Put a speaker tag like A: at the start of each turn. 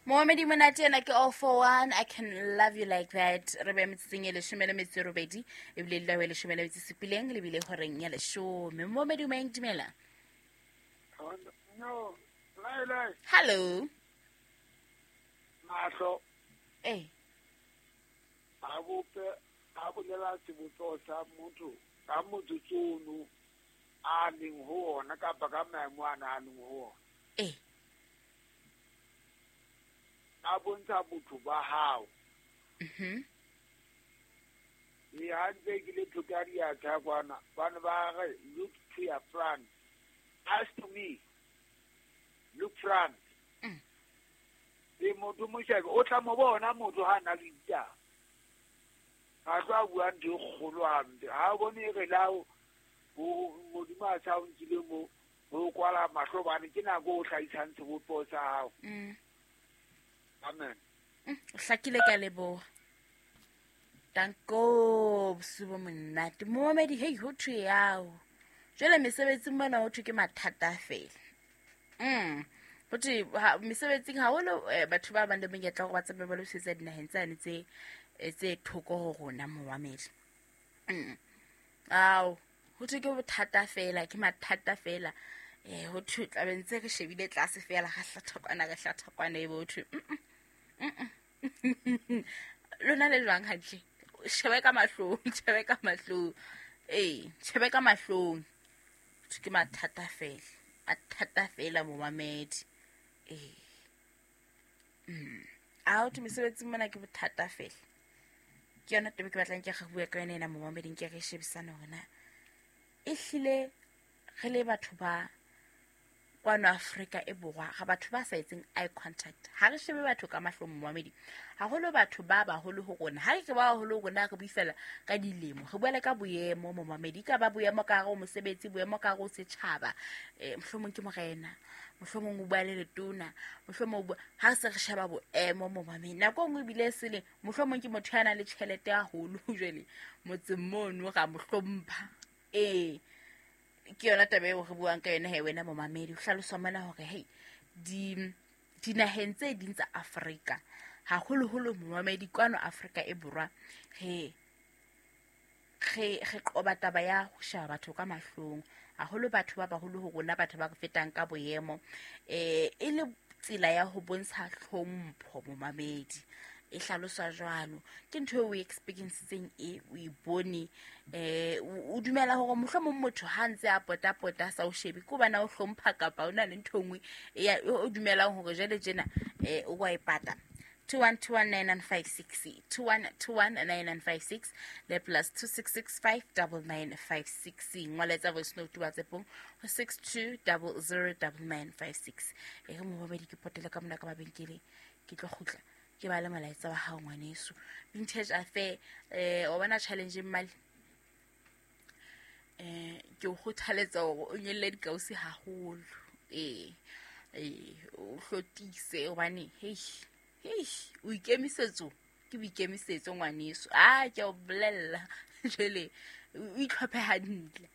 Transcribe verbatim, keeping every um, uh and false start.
A: Momamedi monate ena ke all for one, I can love you like that. Re be metsotsong e leshome le metso e robedi, ebile le lawe leshome le metso e supileng, lebile horeng ya leshome. Momamedi o maeng, dumela.
B: No, lai lai.
A: Hello.
B: Mahlo.
A: Eh.
B: A bope, a bolela sebopeho sa motho, ka motsotso ono a leng ho ona kapa ka maemo ana a leng ho ona.
A: Eh.
B: A bontsha botho ba hao.
A: Mhm.
B: E ha ntse ke le thoka diatla kwana, ba ne ba re look to your front. As to me, look front.
A: Mm.
B: E motho mo shebe, o tla mo bona motho ha na le ditaba. Ha tla bua ntho e kgolo hampe. Ha o bone re la o Modimo a sa o nkile mo, ho kwala mahlo bane ke nako o hlahisang sebopeho sa hao.
A: Mm.
B: Amen.
A: Mm, o hlakile ka leboha. Danko, bosiu bo monate. Momamedi, hei, ho thwe yao. Jwale mesebetsing mona ho thwe ke mathata feela. Mm. Ho thwe, ha, mesebetsing haholo, eh, batho ba bang le monyetla hore ba tsamaye ba lo sebetsa dinaheng tsane tse, eh, tse thoko ho rona, momamedi. Mm. Ao, ho thwe ke bothata feela, ke mathata feela. Eh, ho thwe tla be ntse re shebile tlase feela, ra hlatha kwana, re hlatha kwana, ebe ho thwe, mm, mm, mm. Lona le jwang hantle? Shebe ka mahlong, shebe ka mahlong. Eh, shebe ka mahlong. Ke mathata feela, mathata feela momamedi. Eh. Mm. A ho thwe mesebetsing mona ke bothata feela. Ke yona taba ke batlang ke re bue ka yona ena momamedi, nke re shebisane hore na ehlile re le batho ba kwano Afrika e Borwa, ga batho ba sa etseng eye contact. Ha re shebe batho ka mahlong momamedi. Haholo batho ba baholo ho rona. Ha re ke ba baholo ho rona, re bue fela ka dilemo. Re bua le ka boemo momamedi. Ka ba boemo ka hare ho mosebetsi, boemo ka hare ho setjhaba. Eh, mohlomong ke morena, mohlomong o bua le letona, mohlomong o bua, ha re se re sheba boemo momamedi. Nako e nngwe ebile e sele, mohlomong ke motho ya nang le tjhelete haholo jwale motseng mono ra mo hlompha. Eh, ke yona taba eo re buang ka yona he wena momamedi. Ho hlaloswa mona hore hei, di, dinaheng tse ding tsa Afrika, haholoholo momamedi kwano Afrika e Borwa, re, re, re qoba taba ya ho sheba batho ka mahlong, haholo batho ba baholo ho rona, batho ba re fetang ka boemo, eh, e le tsela ya ho bontsha hlompho momamedi. E hlaloswa jwalo. Ke ntho eo o e experiencetseng e, o e bone, eh, o, o dumela hore mohlomong motho ha ntse a pota-pota a sa o shebe, ke hobane a o hlompha kapa o na le ntho e nngwe e ya, o dumelang hore jwale tjena, eh, o wa e pata. two one two one nine nine five six, two one two one nine nine five six, le plus two six six five double nine five six. Ngola voice note WhatsApp-ong ho six two double zero double nine five six. E re momamedi ke potele ka mona ka mabenkeleng, ke tlo kgutla ke ba le molaetsa wa hao ngwaneso. Vintage Affair, eh, o bona challenge mmale? Eh, ke o kgothaletsa hore o nyolle dikausi haholo. Eh, eh, o hlotise hobane, hei, hei, o ikemisetso, ke boikemisetso ngwaneso. Ah, ke a o bolella. Jwale, o itlhophe hantle.